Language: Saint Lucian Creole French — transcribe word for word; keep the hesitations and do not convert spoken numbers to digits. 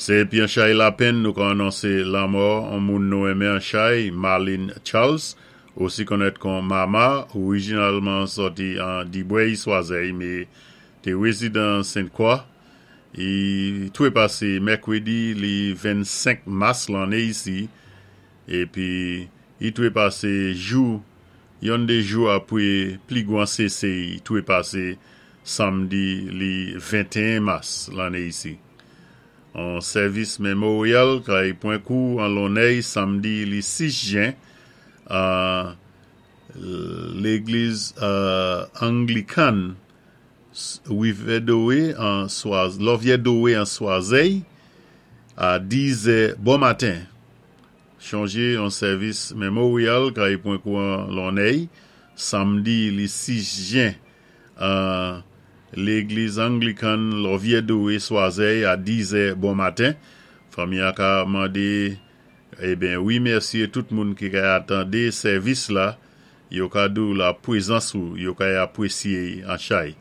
Sé épi an chay lapenn nou ka anonsé lanmò an moun nou enmen an chay, Marlene Charles, osi konnèt kon Mama, orijinalman sòti an Dibrèy Swazèy, mé té wézidan Sent-Kwa. I twépasé mèkwédi li vennsenk mas lanné isi, épi i twépasé jou, youn dé jou apwé pli gwan sé-sé twépasé samdi li ventéen mas lanné isi. An sèvis mémoryal kay pwan kou an Lonnèy samdi li sis jen an légliz Anglikan Rivyè-Dowé an Lòvyè-Dowé an Swazèy a dizè bon maten. Chonjé an sèvis mémoryal kay pwan kou an Lonnèy samdi li sis jen an légliz Anglikan Lòvyè-Dowé Swazèy a dizè bon maten. Fanmi an ka mandé eben wimèsyé tout moun ki ka atandé sèvis la, yo ka dou la pwézans ou, yo ka apwésyé an chay.